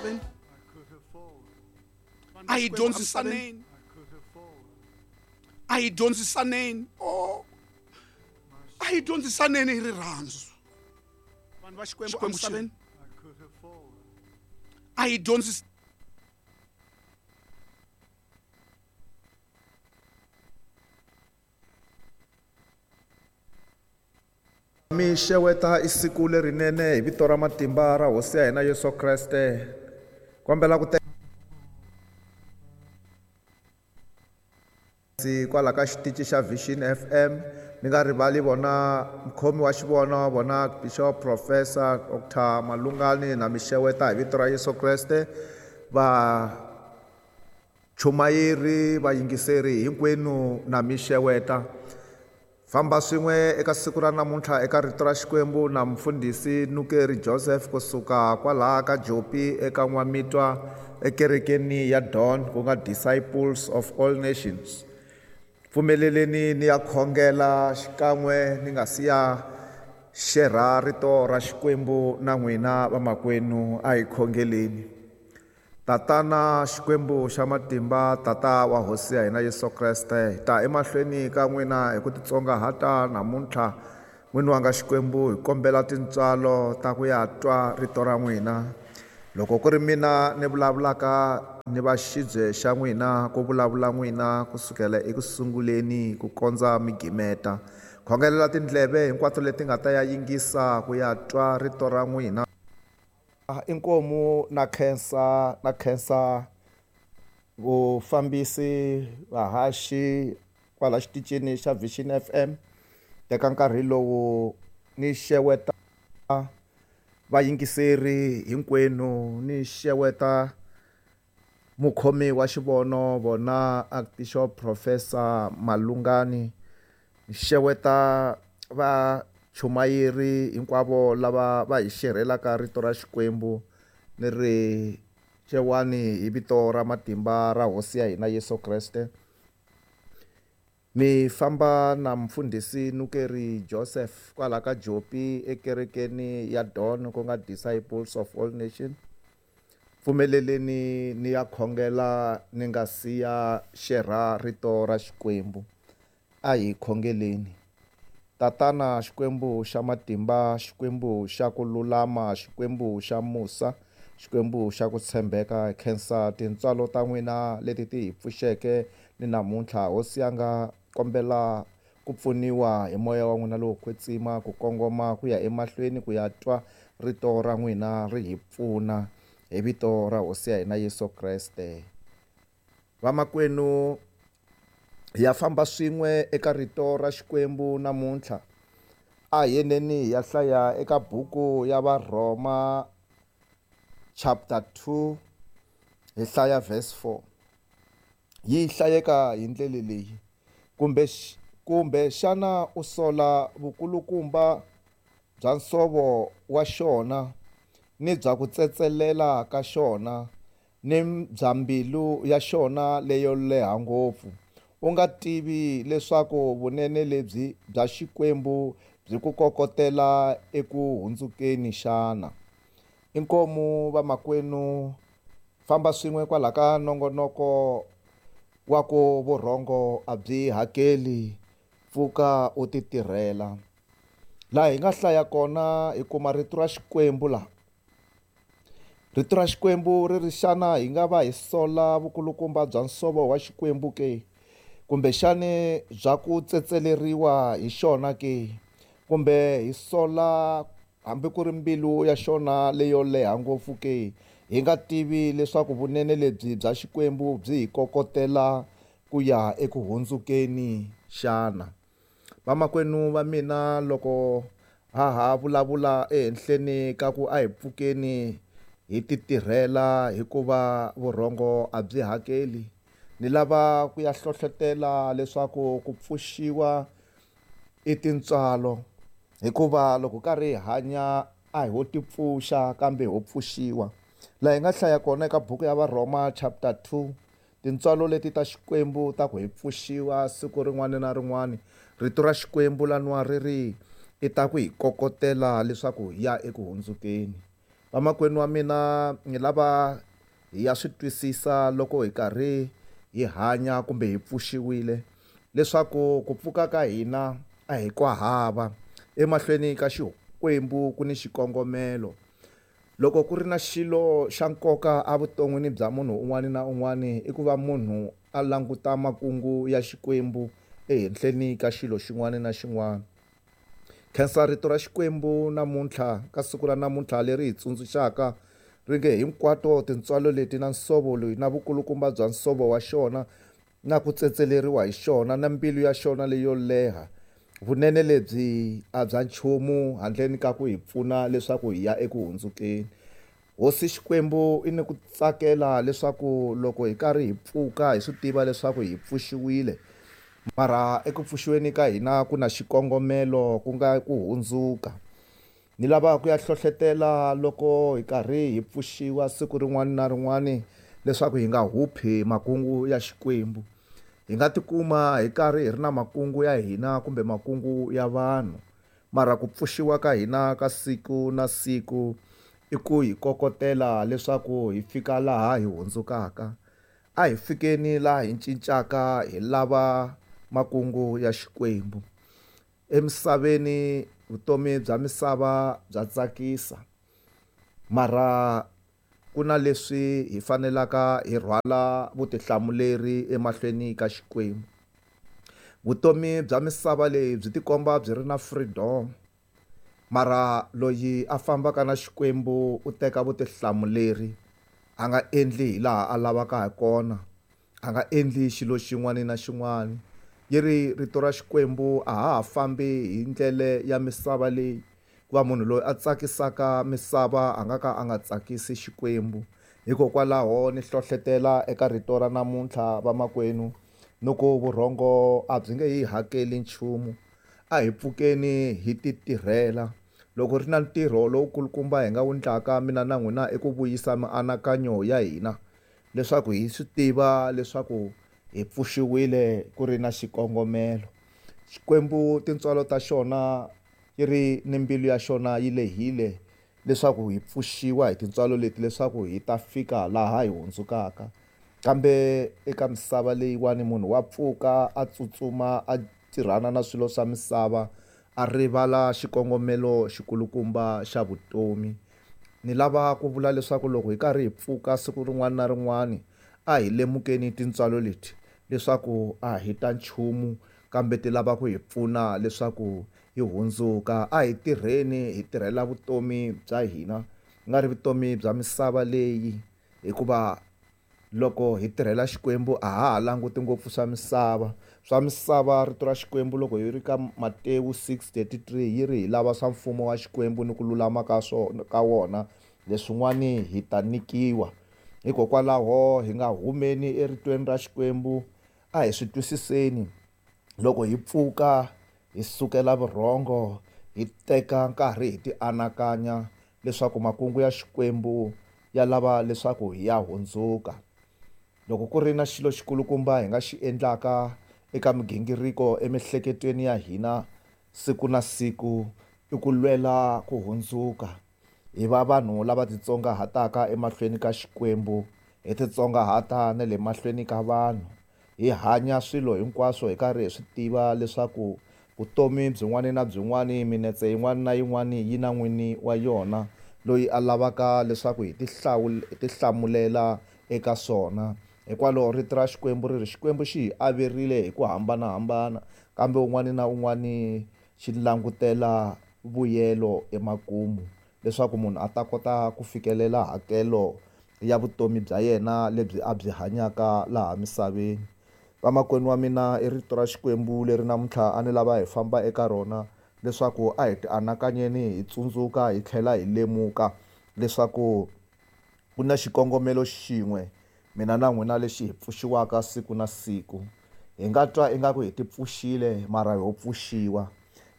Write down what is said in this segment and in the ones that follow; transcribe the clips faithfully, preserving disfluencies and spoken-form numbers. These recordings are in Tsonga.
Emisaveni a hi dyondzisaneni, a hi dyondzisaneni, oh, a hi dyondzisaneni hi rirhandzu. Vanhu va Xikwembu emisaveni a hi dyondzis Mi xeweta i siku lerinene hi vito ra matimba ra hosi ya hina Yesu Kreste. Kombela ku kwala ka xitichi xa Vision F M mi nga rivali vona mukhomi wa xivono vona Bishop Professor Doctor Malungani na mi xeweta hi vito ra Yesu Kreste. Va chumayeri vayingiseri hinkwenu na mi xeweta. Famba swin'we eka siku ra namuntlha eka rito ra Xikwembu na mfundhisi Nukeri Joseph kusuka kwalaha ka Jopi eka N'wamitwa ekerekeni ya Dawn ku nga Disciples of All Nations. Pfumeleleni ni ya khongela xikan'we ni nga siya xerha rito ra Xikwembu na n'wina vamakwenu, a hi khongeleni. Tatana Xikwembu xa matimba, Tata wa Hosi ya hina Yesu Kreste, hi ta emahlweni ka n'wina hi ku titsongahata namuntlha. N'wini wanga Xikwembu, hi kombela tintswalo ta ku ya twa rito ra n'wina. Loko ku ri mina ni vulavulaka ni va xibye xa n'wina, ku vulavula n'wina kusukela eku sunguleni ku kondza mi gimeta. Khongelela tindleve hinkwato leti nga ta ya yingisa ku ya twa rito ra n'wina. Inkomu na khensa, na khensa vufambisi vahaxi kwala xitichini xa Vision F M. Teka nkarhi lowu ni xeweta vayingiseri hinkwenu, ni xeweta mukhomi wa xivono vona Archbishop Professor Malungani, ni xeweta va chumayeri hinkwavo lava va hi xerhelaka rito ra Xikwembu, ni ri xewani hi vito ra matimba ra Hosi ya hina Yesu Kreste. Mi famba na mfundhisi Nukeri Joseph kwala ka Jopi ekerekeni ya Dawn ku nga Disciples of All Nations. Pfumeleleni ni ya khongela ni nga siya xerha rito ra Xikwembu. A hi khongeleni. Tatana Xikwembu xa matimba, Xikwembu xa ku lulama, Xikwembu xa musa, Xikwembu xa ku tshembeka, khensa tintswalo ta n'wina leti ti hi pfuxeke ni namuntlha. Hosi yanga, kombela ku pfuniwa hi moya wa n'wina lowo kwetsima ku kongoma ku ya emahlweni ku ya twa rito ra n'wina ri hi pfuna hi vito ra Hosi ya hina Yesu Kreste. Vamakwenu, hi ya famba swin'we eka rito ra Xikwembu namuntlha. A hi yeneni hi ya hlaya eka buku ya Varhoma chapter two, hi hlaya verse four. Yi hlayeka hi ndlela leyi: kumbe kumbe xana u sola vukulukumba bya nsovo wa xona ni bya ku tsetselela ka xona ni bya mbilu ya xona leyo leha ngopfu, u nga tivi leswaku vunene lebyi bya Xikwembu byi ku kokotela eku hundzukeni xana? Inkomu vamakwenu, famba swin'we kwala ka nongonoko wa ku vurhongo a byi hakeli, pfuka u ti tirhela. Laha hi nga hlaya kona hi kuma rito ra Xikwembu laha. Rito ra Xikwembu ri ri xana hi nga va hi sola vukulukumba bya nsovo wa Xikwembu ke? Kumbexani bya ku tsetseleriwa hi xona ke? Kumbe hi sola hambi ku ri mbilu ya xona leyo leha ngopfu ke? Hi nga tivi leswaku vunene lebyi bya Xikwembu byi hi kokotela ku ya eku hundzukeni xana? Vamakwenu va mina, loko ha ha vulavula ehenhleni ka ku a hi pfukeni hi ti tirhela hikuva vurhongo a byi hakeli, ni lava ku ya hlohlotela leswaku ku pfuxiwa i tintswalo, hikuva loko karhi hi hanya a hi ho ti pfuxa kambe ho pfuxiwa. Laha hi nga hlaya kona eka buku ya Varhoma chapter two, tintswalo leti ta Xikwembu ta ku hi pfuxiwa siku rin'wana na rin'wana. Rito ra Xikwembu laniwa ri ri i ta ku hi kokotela leswaku hi ya eku hundzukeni. Vamakwenu wa mina, ni lava hi ya swi twisisa loko hi karhi hi hanya kumbe hi pfuxiwile leswaku ku pfuka ka hina a hi kwa hava. Emahlweni ka Xikwembu ku ni xikongomelo. Loko ku ri na xilo xa nkoka evuton'wini bya munhu un'wana na un'wana, i ku va munhu a languta makungu ya Xikwembu ehenhleni ka xilo xin'wana na xin'wana. Khensa rito ra Xikwembu namuntlha ka siku ra namuntlha leri hi tsundzuxaka ri nge hinkwato tintswalo leti na nsovo loyi na vukulukumba bya nsovo wa xona na ku tsetseleriwa hi xona na mbilu ya xona leyo leha, vunene lebyi a bya nchumu handleni ka ku hi pfuna leswaku hi ya eku hundzukeni. Hosi Xikwembu i ni ku tsakela leswaku loko hi karhi hi pfuka hi swi tiva leswaku hi pfuxiwile, mara eku pfuxiweni ka hina ku na xikongomelo ku nga ku hundzuka. Ni lava ku ya hlohletela loko hi karhi hi pfuxiwa siku rin'wana na rin'wana leswaku hi nga huphi makungu ya Xikwembu. Hi nga tikuma hi karhi hi ri na makungu ya hina kumbe makungu ya vanhu, mara ku pfuxiwa ka hina ka siku na siku i ku hi kokotela leswaku hi fika laha hi hundzukaka. A hi fikeni laha hi cincaka hi lava makungu ya Xikwembu. Emisaveni vutomi bya misava bya tsakisa, mara ku na leswi hi fanelaka hi rhwala vutihlamuleri emahlweni ka Xikwembu. Vutomi bya misava leyi byi tikomba byi ri na freedom, mara loyi a fambaka na Xikwembu u teka vutihlamuleri, a nga endli hi laha a lavaka ha kona, a nga endli xilo xin'wana na xin'wana. Yi ri rito ra Xikwembu a ha ha fambi hi ndlela ya misava leyi, hikuva munhu loyi a tsakisaka misava a nga ka a nga tsakisi Xikwembu. Hikokwalaho ni hlohletela eka rito ra namuntlha vamakwenu, ni ku vurhongo a byi nge hi hakeli nchumu. A hi pfukeni hi ti tirhela. Loko ri na ntirho lowukulukumba hi nga wu endlaka mina na n'wina i ku vuyisa mianakanyo ya hina leswaku hi swi tiva leswaku hi pfuxiwile ku ri na xikongomelo. Xikwembu tintswalo ta xona yi ri ni mbilu ya xona yi lehile leswaku hi pfuxiwa hi tintswalo leti leswaku hi ta fika laha hi hundzukaka. Kambe eka misava leyiwani munhu wa pfuka a tsutsuma a tirhana na swilo swa misava, a rivala xikongomelo xikulukumba xa vutomi. Ni lava ku vula leswaku loko hi karhi hi pfuka siku rin'wana na rin'wana, a hi lemukeni tintswalo leti leswaku a hi ta nchumu, kambe ti lava ku hi pfuna leswaku hi hundzuka. A hi tirheni hi tirhela vutomi bya hina, ku nga ri vutomi bya misava leyi, hikuva loko hi tirhela Xikwembu a ha ha languti ngopfu swa misava. Swa misava rito ra Xikwembu loko hi ri ka Matewu six thirty-three yi ri hi lava swa mfumo wa Xikwembu ni ku lulama ka swona ka wona, leswin'wani hi ta nyikiwa. Hikokwalaho hi nga humeni eritweni ra Xikwembu, a hi swi twisiseni. Loko hi pfuka hi sukela vurhongo, hi teka nkarhi hi tianakanya leswaku makungu ya Xikwembu ya lava leswaku hi ya hundzuka. Loko ku ri na xilo xikulukumba hi nga xi endlaka eka migingiriko emiehleketweni ya hina siku na siku, i ku lwela ku hundzuka. Hi va vanhu lava titsongahataka emahlweni ka Xikwembu, hi titsongahata na le mahlweni ka vanhu. Hi hanya swilo hinkwaswo hi karhi hi swi tiva leswaku vutomi byin'wana na byin'wana, minetse yin'wana na yin'wana yi na n'wini wa yona loyi a lavaka leswaku hi hi tihlamulela eka swona. Hikwalaho rito ra Xikwembu ri ri Xikwembu xi hi averile hi ku hambanahambana, kambe un'wana na un'wana xi langutela vuyelo emakumu leswaku munhu a ta kota ku fikelela hakelo ya vutomi bya yena lebyi a byi hanyaka laha misaveni. Vamakwenu wa mina, i rito ra Xikwembu leri namuntlha a ni lava hi famba eka rona leswaku a hi tianakanyeni hi tsundzuka hi tlhela hi lemuka leswaku ku na xikongomelo xin'we mina na n'wina lexi hi pfuxiwaka siku na siku. Hi nga twa ingaku hi ti pfuxile mara ho pfuxiwa.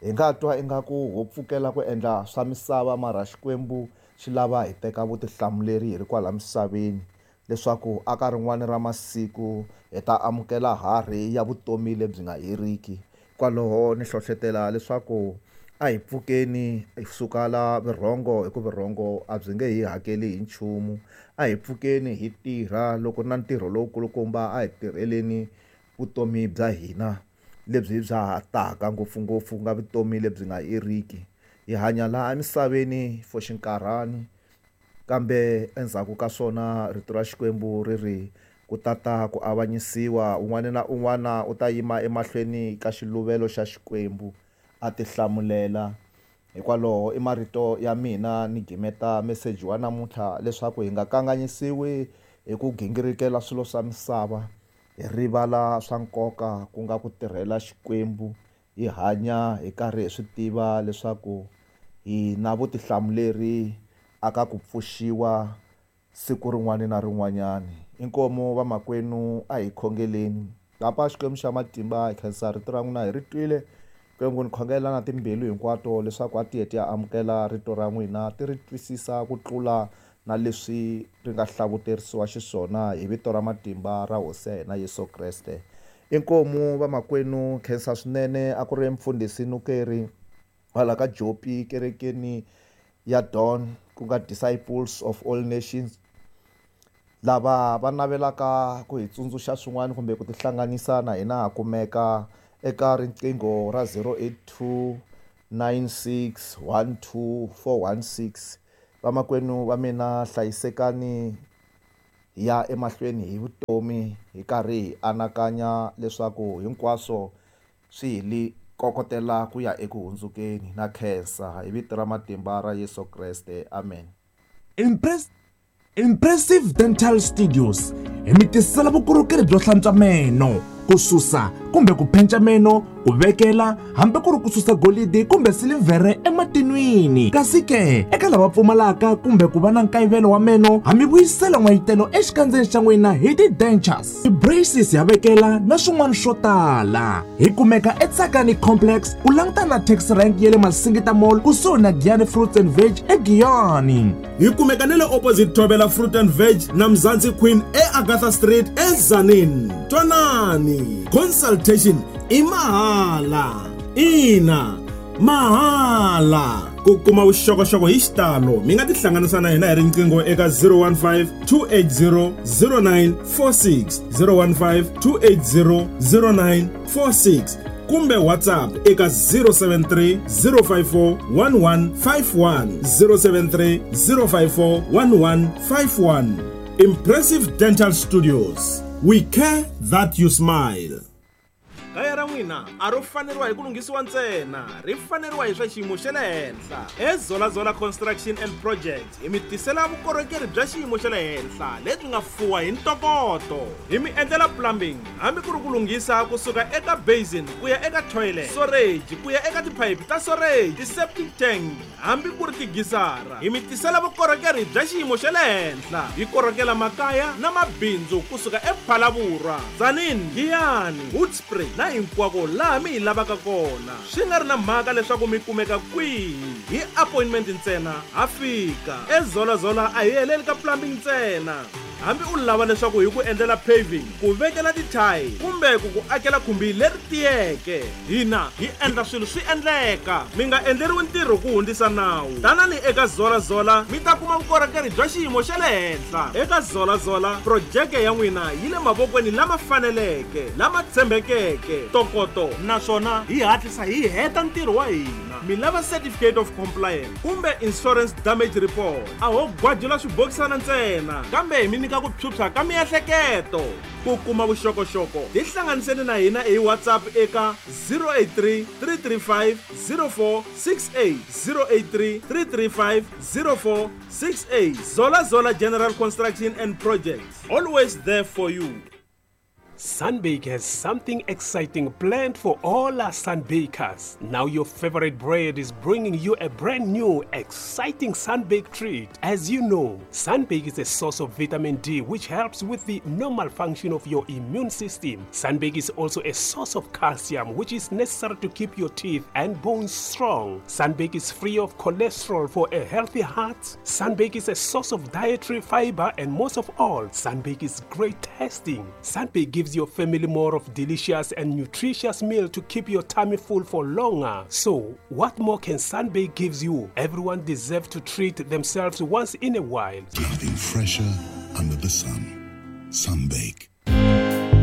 Hi nga twa ingaku ho pfukela ku endla swa misava mara Xikwembu xi lava hi teka vutihlamuleri hi ri kwala misaveni leswaku aka rin'wana ra masiku hi ta amukela harhi ya vutomi lebyi nga heriki. Kwaloho ni hlohletela leswaku A hi pfukeni hi suka la vurhongo hi ku vurhongo a byi nge hi hakeli hi nchumu. A hi pfukeni hi tirha loko na ntirho lowukulukumba a hi tirheleni vutomi bya hina lebyi bya ha taka ngopfungopfu ku nga vutomi lebyi nga heriki. Hi hanya laha emisaveni for xinkarhani kambe endzhaku ka swona rito ra Xikwembu ri ri ku tata ku avanyisiwa un'wana na un'wana u ta yima emahlweni ka xiluvelo xa Xikwembu a ti hlamulela. Hikwalaho i marito ya mina ni gimeta meseji wa namuntlha leswaku hi nga kanganyisiwi hi ku gingirikela swilo swa misava hi rivala swa nkoka ku nga ku tirhela Xikwembu hi hanya hi karhi hi swi tiva leswaku hi na vutihlamuleri aka ku pfuxiwa siku rin'wana na rin'wanyana. Inkomu vamakwenu a hi khongeleni. Papa Xikwembu xa matimba hi khensa rito ra n'wina hi ri twile. Xikwembu ni khongela na timbilu hinkwato leswaku a ti heti ya amukela rito ra n'wina ti ri twisisa ku tlula na leswi ri nga hlavuterisiwa xiswona hi vito ra matimba ra Hosi ya hina Yesu Kreste. Inkomu vamakwenu khensa swinene a ku ri mfundhisi Nukeri kwala ka Jopi kerekeni ya Dawn ku nga Disciples of All Nations. Lava va navelaka ku hi tsundzuxa swin'wana kumbe ku tihlanganisa na hina ha kumeka eka riqingho ra zero eight two nine six one two four one six. Vamakwenu va mina hlayisekani hi ya emahlweni hi vutomi hi karhi hi anakanya leswaku hinkwaswo swi hi li kokotela ku ya eku hundzukeni. Na khensa hi vito ra matimba ra Yesu Kreste. Amen. Impress Impressive Dental Studios hi mi tisela vukorhokeri byo hlantswa meno, ku susa kumbe ku penca meno, ku vekela hambi ku ri ku susa golidi kumbe silivhere ematinwini. Kasi ke eka lava pfumalaka kumbe ku va na nkayivelo wa meno, ha mi vuyisela n'wayitelo exikandzeni xa n'wina hi ti-dentures, ti-braces ya vekela na swin'wana swo tala. Hi kumeka eTsakani Complex ku langutana na taxi rank ya le Masingita Mall kusuhi na Giyani Fruits and Veg eGiyani. Hi kumeka na le opposite Thobela Fruit and Veg na Mzansi Queen eAgatha Street eZanini. Twanani, consultation i mahala. Ina, mahala. Ku kuma vuxokoxoko hi xitalo mi nga tihlanganisa na hina hi riqingho eka zero one five two eight zero zero nine four six, zero one five two eight zero zero nine four six kumbe WhatsApp eka zero seven three zero five four one one five one, zero seven three zero five four one one five one. Impressive Dental Studios. We care that you smile. Kaya ra n'wina a ro faneriwa hi ku lunghisiwa ntsena, ri faneriwa hi swa xiyimo xa le henhla. EZola Zola Construction and Projects hi mi tisela vukorhokeri bya xiyimo xa le henhla lebyi nga fuwa hi ntokoto. Hi mi endlela plumbing hambi ku ri ku lunghisa kusuka eka basin ku ya eka toilet, storage ku ya eka tiphayiphi ta storage, ti-septic tank hambi ku ri tigisara. Hi mi tisela vukorhokeri bya xiyimo xa le henhla. Hi korhokela makaya na mabindzu kusuka ePhalaborwa, Tzaneen, Giyani, Hoedspruit na hinkwako laha mi hi lavaka kona. Swi nga ri na mhaka leswaku mi kumeka kwihi, hi appointment ntsena ha fika. EZola Zola a hi heleli ka plumbing ntsena. Hambi u lava leswaku hi ku endlela paving, ku vekela tithayi kumbe ku ku akela khumbi leri tiyeke, hina hi endla swilo swi endleka. Mi nga endleriwi ntirho ku hundzisa nawu. Tanani eka Zola Zola mi ta kuma vukorhokeri bya xiyimo xa le henhla. Eka Zola Zola projeke ya n'wina yi le mavokweni lama faneleke, lama tshembekeke, ntokoto, naswona hi hatlisa hi heta ntirho wa hina. Mi lava certificate of compliance kumbe insurance damage report, a ho gwajula swibokisana ntsena kambe hi mi nyika ku phyuphya ka miehleketo. Ku kuma vuxokoxoko tihlanganiseni na hina hi WhatsApp eka zero eight three three three five zero four six eight, zero eight three three three five zero four six eight. Zola Zola General Construction and Projects, always there for you. Sunbake has something exciting planned for all our Sunbakers. Now your favorite bread is bringing you a brand new, exciting Sunbake treat. As you know, Sunbake is a source of vitamin D, which helps with the normal function of your immune system. Sunbake is also a source of calcium, which is necessary to keep your teeth and bones strong. Sunbake is free of cholesterol for a healthy heart. Sunbake is a source of dietary fiber, and most of all, Sunbake is great tasting. Sunbake gives gives your family more of delicious and nutritious meal to keep your tummy full for longer. So, what more can Sunbake gives you? Everyone deserves to treat themselves once in a while. Nothing fresher under the sun. Sunbake.